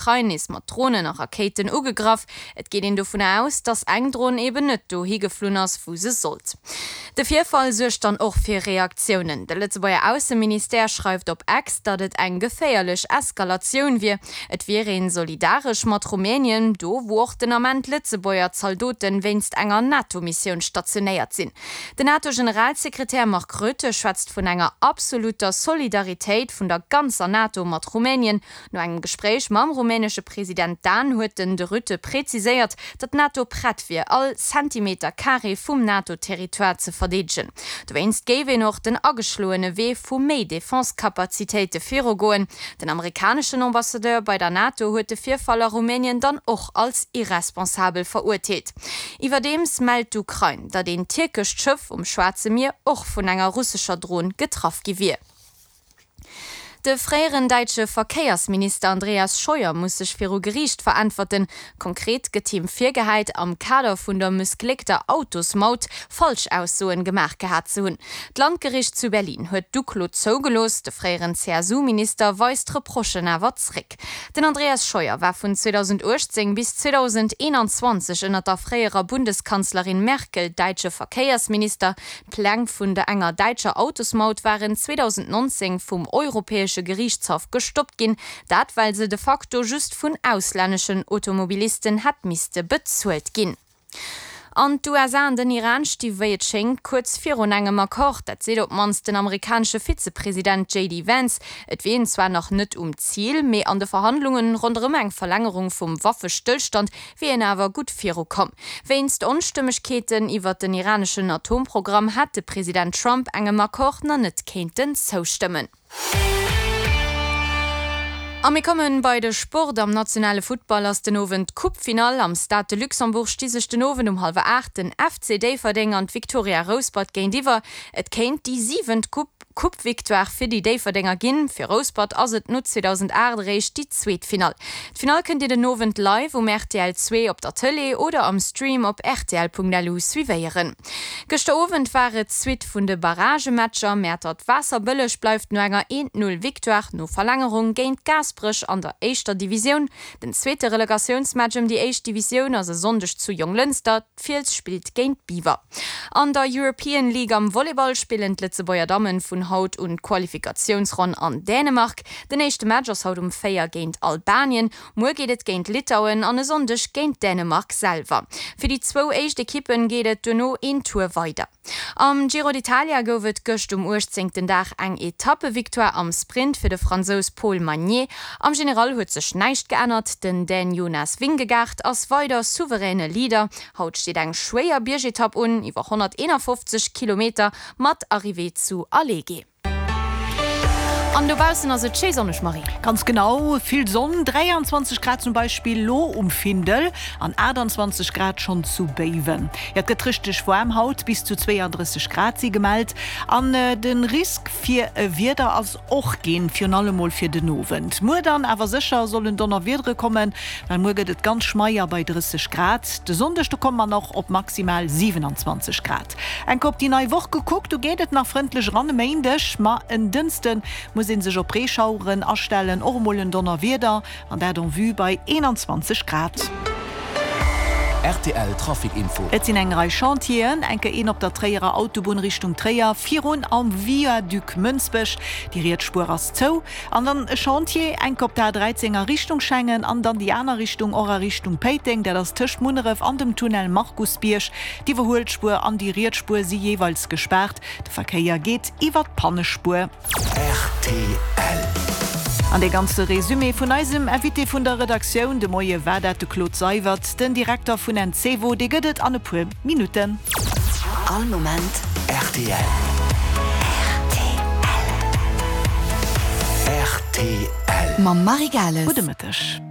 Ukrain nees mat Dronen a Rakéiten ugegraff. Et geet een dovunner aus, datt eng Dron eben net dohi geflunn ass, wou se sollt. De Virfall suergt dann och fir Reaktiounen. De Lëtzebuerger Ausseministère schreift op X, datt et eng geféierlech Eskalatioun wier. Et wier een solidaresch mat Rumänien, do wou och den Ament Lëtzebuerger Zaldoten wéinst enger NATO-Missioun stationéiert sinn. Den NATO-Generalsekretär Mark Rutte schwätzt vun enger absolutter Solidaritéit vun der ganzer NATO mat Rumänien. No engem Gespréich mam rumänesche President Dan huet den de Rutte preziséiert, datt d'NATO prett wier, all Zentimeter Carré vum NATO-Territoire ze verdeedegen. Dowéinst géif een och den ageschloene Wee vu méi Defense-Kapazitéite virugoen. Den amerikaneschen Ambassadeur bei der NATO huet de Virfall a Rumänien dann och als irresponsabel verurteelt. Iwwerdeems mellt d'Ukrain, datt een tierkescht Schëff um Schwaarze Mier och vun enger russescher Dron getraff gi wier. De fréieren däitsche Verkéiersminister Andreas Scheuer muss sech viru Geriicht veräntwerten. Konkret gëtt him virgehäit, am Kader vun der mëssgléckter Autosmaut Falschaussoen gemaach gehat ze hunn. D'Landgericht zu Berlin huet d'Uklo zougelooss. De fréieren CSU-Minister weist d'Reprochen awer zréck. Den Andreas Scheuer war vun 2018 bis 2021 ënner der fréierer Bundeskanzlerin Merkel däitsche Verkéiersminister. D'Pläng vun der enger däitscher Autosmaut waren 2019 vum Europäesche Geriichtshaff gestoppt ginn, dat well se de facto just vun auslänneschen Automobilisten hätt misste bezuelt ginn. An d'USA an den Iran sti wéi et schéngt kuerz virun engem Accord. Dat seet op d'mannst den amerikanesche Vizepresident JD Vance. Et wier een zwar nach net um Zil, mee an de Verhandlunge ronderëm eng Verlängerung vum Waffestëllstand wier een awer gutt viru komm. Wéinst Onstëmmegkeeten iwwert den iraneschen Atomprogramm hätt de President Trump engem Accord na net kéinten zoustëmmen. A mir kommen bei de Sport. Am nationale Futtball ass den Owend d'Coupe-Finall. Am Stade de Luxembourg sti sech den Owend um hallwer 8 den FC Déifferdeng an d'Victoria Rouspert géintiwwer. Et kéint déi siwent Coupe-Victoire fir déi Déifferdenger ginn. Fir Rouspert ass et no 2008 eréischt déi zweet Finall. D'Finall kënnt Dir den Owend live um rtl 2 op der Tëlee oder am Stream op rtl.lu suivéieren. Gëschter Owend war et d'Suite vun de Barragematcher. Mäertert-Waasserbëlleg bleift no enger 1, 0 Victoire no Verlängerung géint Gaasperech an der éischter Divisioun. Den zweete Relegatiounsmatch ëm déi éischt Divisioun ass e Sonndeg zu Jonglënster. D'Fiels spillt géint Biwer. An der European League am Volleyball spillen d'Lëtzebuerger Dammen vun haut un d'Qualifikatiounsronn an Dänemark. Den éischte Match ass haut um 4 géint Albanien. Muer geet et géint Litauen an e Sonndeg géint Dänemark selwer. Fir déi zwou éischt Ekippen geet et duerno een Tour weider. Am Giro d'Italia gouf et gëscht um 18. Dag eng Etappevictoire am Sprint fir de Fransous Paul Magnier. Am General huet sech näischt geännert, den Dän Jonas Vingegaard ass weider souveräne Leader. Haut steet eng schwéier Biergetapp un, iwwer 151 Kilometer mat Arrivée zu Alleghe. An dobaussen ass et schéi sonneg, Marie. Ganz genau, vill Sonn, 23 Grad zum Beispill lo um Findel an 28 Grad schonn zu Béiwen. Jo, et gëtt richteg waarm haut, bis zu 32 Grad si gemellt an de Risk fir e Wieder ass och ginn, virun allem mol fir den Owend. Muer dann awer sécher sollen Donnerwiedere kommen, well muer gëtt et ganz schmeier bei 30 Grad. De Sonndeg do komme mer nach op maximal 27 Grad. Enk op déi nei Woch gekuckt, do geet et nach frëndlech eran e Méindeg, ma en Dënschde muss ee sech op Reeschaueren astellen, och emol en Donnerwieder, an dat en vue bei 21 Grad. Rtl Trafic Info. Et sinn eng Rei Chantieren, enke een op der Tréierer Autobunn Richtung Tréier, virun am Viaduc Mënsbech, déi riets Spuer ass zou. An dann e Chantier, enk op der A13 a Richtung Schengen an dann déi aner Richtung och a Richtung Péiteng, dat ass tëscht Munneref an dem Tunnel Markusbierg. D'Iwwerhuelspuer an déi riets Spuer si jeeweils gespaart. De Verkéier geet iwwer d'Pannespuer. Rtl. An dee ganze Resumé vun eisem Invité vun der Redaktioun de Moie war dat de Claude Seywert, den Direkter vun Encevo. Dee gëtt et an e puer Minutten. All Moment rtl. Rtl. Rtl. Mam Marie Gales. Gudde Mëtteg.